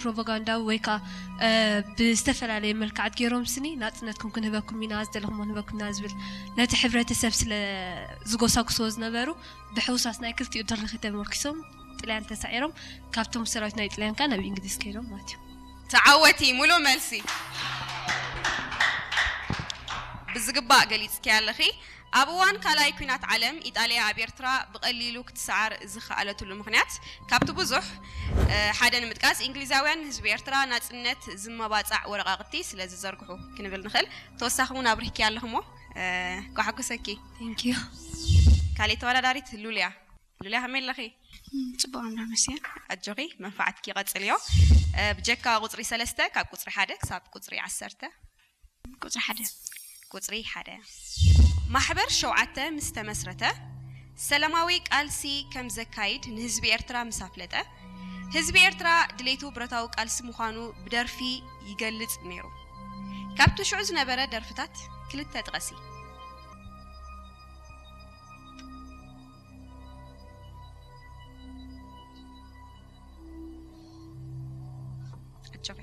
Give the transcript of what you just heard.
ፕሮፓጋንዳዊ ወይ ከዓ ብዝተፈላለየ መልክዓት ገይሮም ስኒ ናፅነትኩም ክንህበኩም ኢና፣ ዝደለኹሞ ክንህበኩም ኢና ዝብል ነቲ ሕብረተሰብ ስለ ዝጎሳጉስዎ ዝነበሩ ብሕውሳት ናይ ክልቲኡ ድርኺት ተመርኪሶም ጥልያን ተሳዒሮም ካብቶም ሰራዊት ናይ ጥልያን ከዓ ናብ እንግሊዝ ከይዶም ማለት እዩ። ተዓወቲ ሙሉእ መልሲ ብዝግባእ ገሊፅኪ ኣለኺ። ኣብ እዋን ካልኣይ ኲናት ዓለም ኢጣልያ ኣብ ኤርትራ ብቐሊሉ ክትሰዓር ዝኸኣለትሉ ምኽንያት ካብቲ ብዙሕ ሓደ ንምጥቃስ እንግሊዛውያን ንህዝቢ ኤርትራ ናጽነት ዝመባጻዕ ወረቓቕቲ ስለ ዝዘርግሑ ክንብል ንኽእል። ተወሳኺ እውን ኣብሪህኪ ኣለኽሞ ኳሓጉሰኪ። Thank you። ካልእ ተወዳዳሪት ሉልያ። ሉልያ ከመይ ኣለኺ? ጽቡቕ ኣምና መስያ። ኣጆኺ መንፋዓትኪ ቀጽልዮ። ብጀካ ቁጽሪ ሰለስተ ካብ ቁጽሪ ሓደ ክሳብ ቁጽሪ ዓሰርተ ቁጽሪ ሓደ ቁጽሪ ሓደ ማሕበር ሸውዓተ ምስ ተመስረተ ሰላማዊ ቃልሲ ከም ዘካይድ ንህዝቢ ኤርትራ ምስ ኣፍለጠ ህዝቢ ኤርትራ ድሌቱ ብረታዊ ቃልሲ ምዃኑ ብደርፊ ይገልጽ ነይሩ። ካብቲ ሽዑ ዝነበረ ደርፍታት ክልተ ጥቀሲ። ኣጆኺ